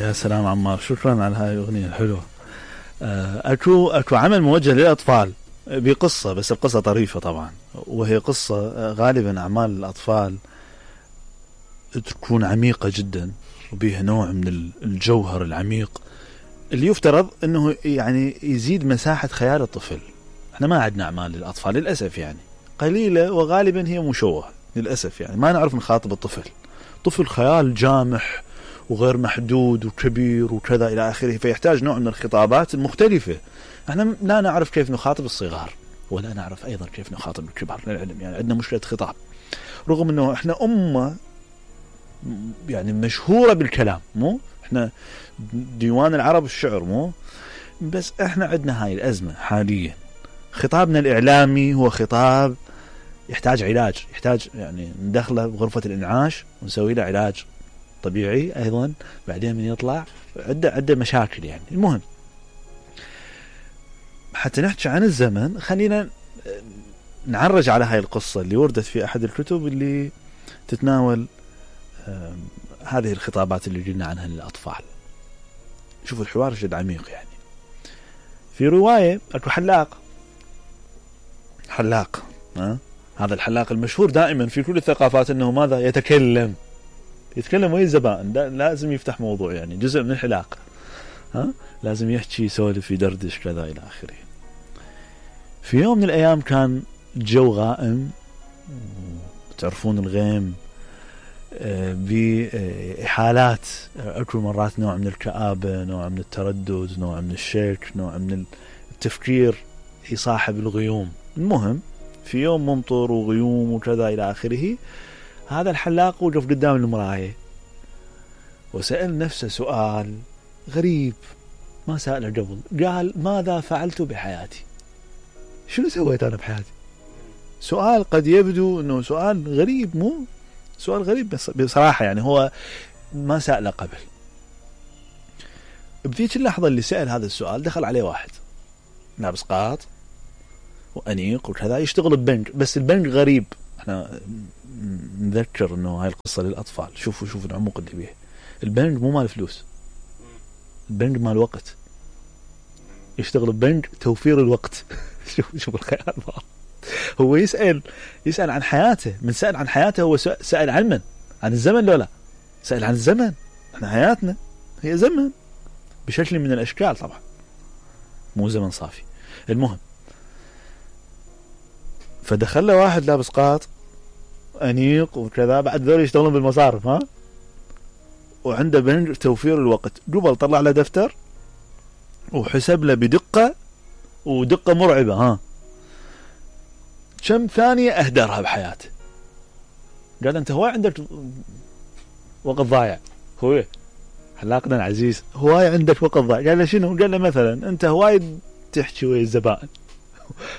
يا سلام عمار، شكرا على هاي الأغنية الحلوة. أكو عمل موجه للأطفال بقصة، بس القصة طريفة طبعا، وهي قصة غالبا أعمال الأطفال تكون عميقة جدا وبيها نوع من الجوهر العميق اللي يفترض أنه يعني يزيد مساحة خيال الطفل. احنا ما عندنا أعمال للأطفال للأسف، يعني قليلة وغالبا هي مشوهة للأسف، يعني ما نعرف نخاطب الطفل. طفل خيال جامح وغير محدود وكبير وكذا إلى آخره، فيحتاج نوع من الخطابات المختلفة. احنا لا نعرف كيف نخاطب الصغار ولا نعرف أيضا كيف نخاطب الكبار للعلم، يعني عندنا مشكلة خطاب، رغم أنه احنا أمة يعني مشهورة بالكلام، مو احنا ديوان العرب الشعر، مو بس احنا عندنا هاي الأزمة حاليا. خطابنا الإعلامي هو خطاب يحتاج علاج، يحتاج يعني ندخله بغرفة الإنعاش ونسوي له علاج طبيعي أيضا، بعدين من يطلع عدة مشاكل. يعني المهم حتى نحكي عن الزمن، خلينا نعرج على هاي القصة اللي وردت في أحد الكتب اللي تتناول هذه الخطابات اللي قلنا عنها للأطفال. شوفوا الحوار جد عميق. يعني في رواية أكو حلاق هذا الحلاق المشهور دائما في كل الثقافات أنه ماذا يتكلم ويا الزبائن، لازم يفتح موضوع، يعني جزء من الحلاق، لازم يحكي يسولف يدردش كذا إلى آخره. في يوم من الأيام كان جو غائم، تعرفون الغيم بحالات، أكو مرات نوع من الكآبة، نوع من التردد، نوع من الشك، نوع من التفكير يصاحب الغيوم. المهم في يوم ممطر وغيوم وكذا إلى آخره، هذا الحلاق وقف قدام المراية وسأل نفسه سؤال غريب ما سأله قبل. قال: ماذا فعلت بحياتي؟ شنو سويت أنا بحياتي؟ سؤال قد يبدو أنه سؤال غريب، مو سؤال غريب بس بصراحة يعني هو ما سأله قبل. بذيك اللحظة اللي سأل هذا السؤال دخل عليه واحد لابس قاط وأنيق وكذا، يشتغل ببنك، بس البنك غريب. احنا نذكر انه هاي القصة للأطفال. شوفوا العمق اللي بيه. البنك مو مال فلوس، البنك مال وقت. يشتغل ببنك توفير الوقت. شوف الخيال. هو يسأل عن حياته. من سأل عن حياته هو سأل عن من؟ عن الزمن. لا سأل عن الزمن. احنا حياتنا هي زمن بشكل من الأشكال طبعا، مو زمن صافي. المهم فدخل له واحد لابس قاط أنيق وكذا، بعد ذول يشتغلون بالمصارف، وعنده بنك توفير الوقت. قبل طلع له دفتر وحسب له بدقة ودقة مرعبة، كم ثانية أهدرها بحياته. قال: أنت هواي عندك وقت ضايع. هو حلاقنا العزيز، هواي عندك وقت ضايع. قال له: شنو؟ قال له: مثلا أنت هواي تحكي ويا الزبائن،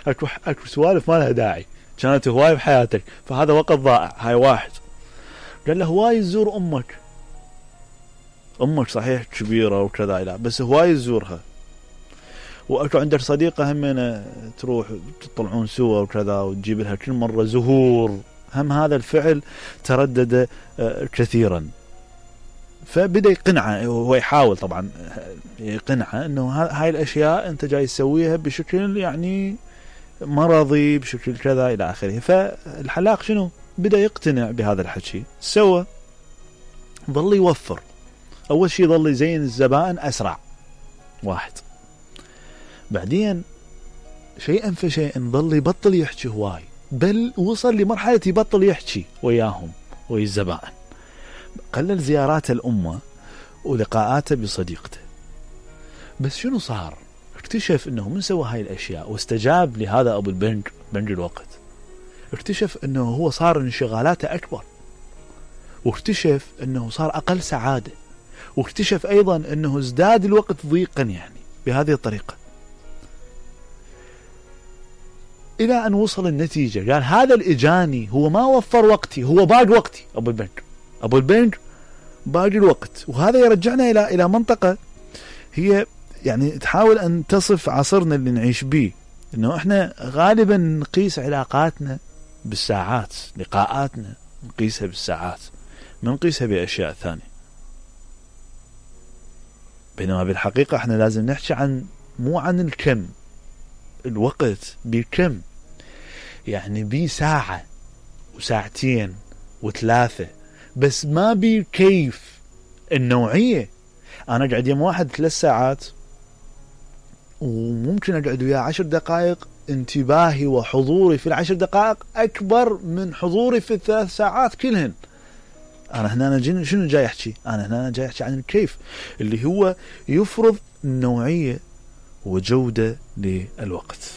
أكو سوالف ما لها داعي، كانت هواي بحياتك، فهذا وقت ضائع. هاي واحد. قال له: هواي تزور أمك صحيح كبيرة وكذا، لا بس هواي تزورها، وأكو عندك صديقة همنا تروح تطلعون سوا وكذا وتجيب لها كل مرة زهور. هم هذا الفعل تردد كثيرا. فبدأ يقنعه، هو يحاول طبعا يقنعه أنه هاي الأشياء أنت جاي تسويها بشكل يعني مرضي، بشكل كذا إلى آخره. فالحلاق شنو؟ بدأ يقتنع بهذا الحكي. سوى ظل يوفر. أول شيء ظل يزين الزبائن أسرع واحد، بعدين شيئا فشيئا ظل يبطل يحكي هواي، بل وصل لمرحلة يبطل يحكي وياهم ويا الزبائن. قلل زيارات الأمة ولقاءاته بصديقته. بس شنو صار؟ اكتشف انه من سوى هاي الاشياء واستجاب لهذا ابو البنك، بنك الوقت، اكتشف انه هو صار انشغالاته اكبر، واكتشف انه صار اقل سعادة، واكتشف ايضا انه ازداد الوقت ضيقا يعني بهذه الطريقة، الى ان وصل النتيجة. قال: هذا الاجاني هو ما وفر وقتي، هو باقي وقتي. ابو البنك باقي الوقت. وهذا يرجعنا الى منطقة هي يعني تحاول أن تصف عصرنا اللي نعيش به، إنه إحنا غالبا نقيس علاقاتنا بالساعات، لقاءاتنا نقيسها بالساعات، ما نقيسها بأشياء ثانية. بينما بالحقيقة احنا لازم نحكي عن مو عن الكم، الوقت بكم، يعني بساعة وساعتين وثلاثة، بس ما بكيف النوعية. انا اقعد يم واحد 3 ساعات وممكن اقعد وياه 10 دقائق، انتباهي وحضوري في ال10 دقائق اكبر من حضوري في ال3 ساعات كلهن. انا هنا شنو جاي احكي؟ انا هنا جاي احكي عن الكيف اللي هو يفرض نوعية وجودة للوقت.